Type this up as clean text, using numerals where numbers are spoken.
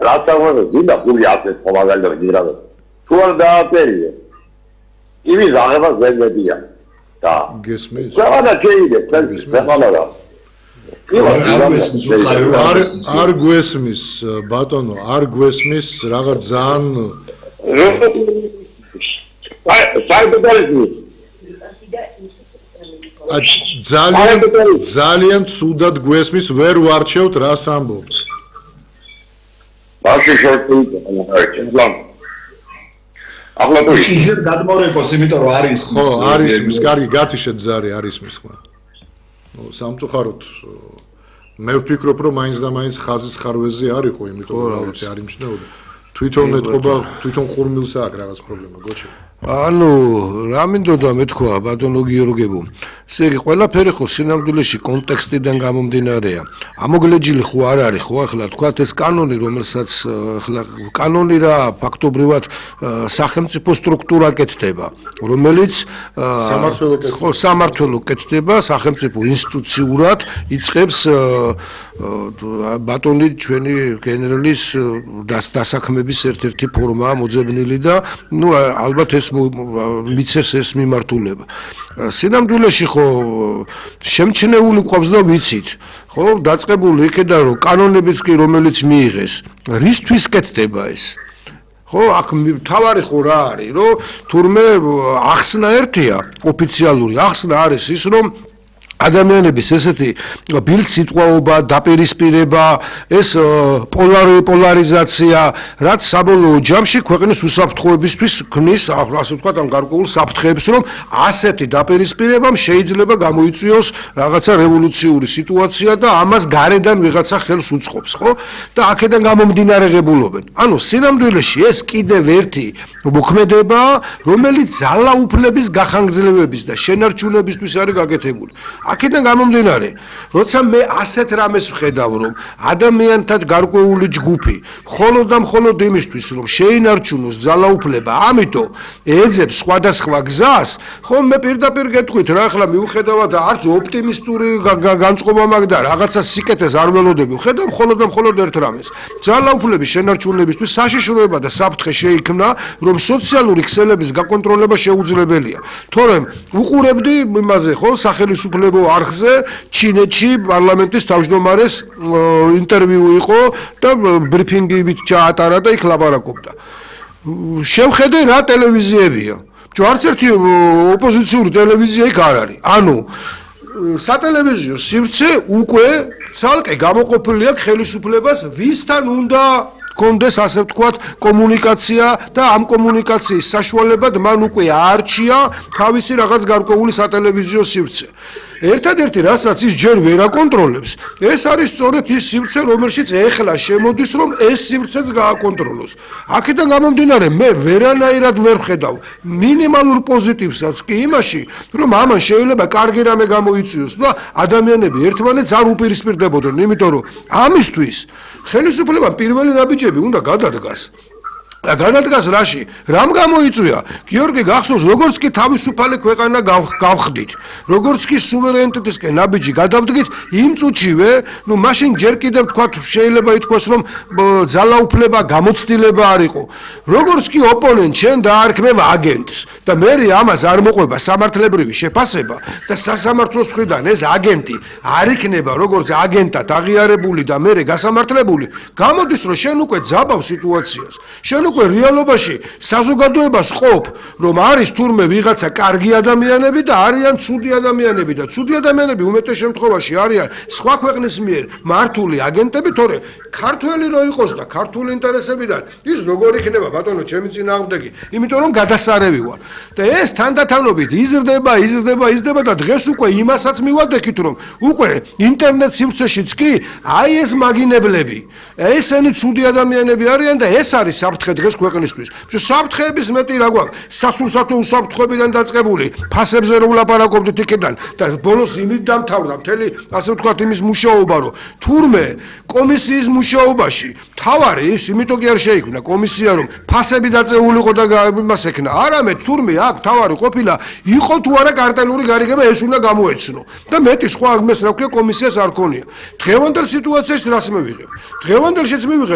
რასაუბრებ დინდა გული აფეს ხომაგალდა გირაბა თუ არ დააწერია იმის აღება ზეგებია და გესმის რა შეიძლება ფეხალა არ გვესმის ბატონო არ გვესმის რაღაც ძალიან ძალიან ცუდად გვესმის ვერ ვარჩევთ რას ამბობთ ბაში შორტი ახლა თუ ისე გადმოეკოს იმიტომ რომ არის ხო არის ის კარგი გათიშეთ ზარი არის მის ხმა ნუ სამწუხაროდ მე ვფიქრობ რომ მაინც და მაინც ხაზის ხარვეზე არისო იმიტომ რომ ვიცი არ იმჩნეოდა თვითონ ეთყობა თვითონ ხურმილს აქვს რაღაც პრობლემა გოჩი ანუ რა მინდოდა მეთქვა ბატონო გიორგებო ესე იგი ყველაფერი ხო სინამდვილეში კონტექსტიდან გამომდინარეა ამოგლეჯილი ხო არ არის ხო ახლა თქვათ ეს კანონი რომელსაც ახლა კანონი რა ფაქტობრივად სახელმწიფო სტრუქტურა კეთდება რომელიც სამართლო კეთდება სახელმწიფო ინსტიტუციურად იწყებს ბატონი ჩვენი გენერალის დასაქმების ერთ-ერთი ფორმაა მოძებნილი და ნუ ალბათ ეს მიცეს ეს მიმართულება სინამდვილეში ხო შემჩნეული ყავს და ვიცით ხო დაწყებული იქიდან რომ კანონებიც კი რომელიც მიიღეს რისთვის კეთდება ეს ხო აქ თავარი ხო რა არის რომ თურმე ახსნა ერთია ოფიციალური ახსნა არის ის რომ ადამიანების ესეთი ბილდ სიტყვაობა, დაპირისპირება, ეს პოლარიზაცია, რაც საბოლოო ჯამში ქვეყნის უსაფრთხოებისთვის ქმნის, ასე ვთქვათ, ამ გარკვეულ საფრთხეებს, რომ ასეთი დაპირისპირებამ შეიძლება გამოიწვიოს რაღაცა რევოლუციური სიტუაცია და ამას გარედან ვიღაცა ხელს უწყობს, ხო? და აქედან გამომდინარეებულობენ. ანუ სინამდვილეში ეს კიდევ ერთი მოქმედებაა, რომელიც ძალაუფლების გახანგრძლივების და შენარჩუნებისთვის არის გაკეთებული. აქედან გამომდინარე, როცა მე ასეთ რამეს ვხედავ, რომ ადამიანთა გარკვეული ჯგუფი მხოლოდ და მხოლოდ იმისთვის, რომ შეინარჩუნოს ძალაუფლება, ამიტომ ეძებს სხვადასხვა გზას, ხო მე პირდაპირ გეტყვით რა, ახლა მიუხედავად არც ოპტიმისტური განწყობა მაქვს და რაღაცა სიკეთეს არ ველოდები, ვხედავ მხოლოდ და მხოლოდ ერთ რამეს. ძალაუფლების შენარჩუნებისთვის საშიშროება და საფრთხე შეიქმნა, რომ სოციალური ქსელების გაკონტროლება შეუძლებელია. თორემ უყურებდი იმაზე, ხო, სახელმწიფო არხზე ჩინეთში პარლამენტის თავმჯდომარეს ინტერვიუ იყო და ბრიფინგივით ჩაატარა და იქ ლაპარაკობდა. შევხედე რა ტელევიზიებია. არც ერთი ოპოზიციური ტელევიზია იქ არ არის. ანუ სატელევიზიო სივრცე უკვე ცალკე გამოყოფილი აქვს ხელისუფლებას ვისთან უნდა კონდეს ასე ვთქვათ კომუნიკაცია და ამ კომუნიკაციის საშუალებად მან უკვე აარჩია თავისი რაღაც გარკვეული სატელევიზიო სივრცე. ერთადერთი რასაც ის ჯერ ვერ აკონტროლებს, ეს არის სწორედ ის სივრცე, რომელშიც ეხლა შემოდის, რომ ეს სივრცეც გააკონტროლოს. აქედან გამომდინარე, მე ვერანაირად ვერ ვხედავ მინიმალურ პოზიტივსაც კი იმაში, რომ ამან შეიძლება კარგი რამე გამოიწვიოს და ადამიანები ერთმანეთს არ უპირისპირდებოდნენ, იმიტომ რომ ამისთვის ხელისუფლებამ პირველი ნაბიჯები უნდა გადადგას. გადადგას რაში? რამ გამოიწვია? გიორგი გახსოვს, როგორც კი თავისუფალი ქვეყანა გავხდით, როგორც კი სუვერენიტეტისკენ ნაბიჯი გადავდგით, იმ წუთშივე, ნუ მაშინ ჯერ კიდევ თქვათ შეიძლება ითქვას, რომ ძალაუფლება გამოცდილება არ იყო. როგორც კი ოპონენტ შენ დაარქმევ აგენტს და მე ამას არ მოყვება სამართლებრივი შეფასება და სასამართლოს მხრიდან ეს აგენტი არ იქნება როგორც აგენტად აღიარებული და მე გასამართლებული, გამოდის რომ შენ უკვე ძაბავ სიტუაციას. შენ უკვე რეალობაში საზოგადოებას ყოფ, რომ არის თურმე ვიღაცა კარგი ადამიანები და არიან ცუდი ადამიანები და ცუდი ადამიანები უმეტეს შემთხვევაში არიან სხვა ქვეყნის მიერ მართული აგენტები, თორე ქართველი რო იყოს და ქართული ინტერესებიდან ის როგორ იქნება ბატონო ჩემი წინააღმდეგი, იმიტომ რომ გადასარევი ვარ. და ეს თანდათანობით იზრდება და დღეს უკვე იმასაც მივადექით, რომ უკვე ინტერნეტ სივრცეშიც კი აი ეს მაგინებლები, ესენი ცუდი ადამიანები არიან და ეს არის საფრთხე დღეს ქვეყნისთვის. საფრთხეების მეტი რა გვაქვს? სასურსათო უსაფრთხოებიდან დაწყებული, ფასებზე რო ვლაპარაკობდით იქიდან და ბოლოს იმით დამთავრდა მთელი ასე ვთქვათ იმის მუშაობა, რომ თურმე კომისიის მუშაობაში თავარი ის იმიტომ კი არ შეიქმნა კომისია, რომ ფასები დაწეულიყო და იმას ექნა. არამედ თურმე აქ თავარი ყოფილა იყო თუ არა კარტელური გარიგება, ეს უნდა გამოეცნო. და მეტი სხვა ამას რა ქვია კომისიას არ ქონია. დღევანდელ სიტუაციაში რას მივიღებ? დღევანდელშიც მივიღებ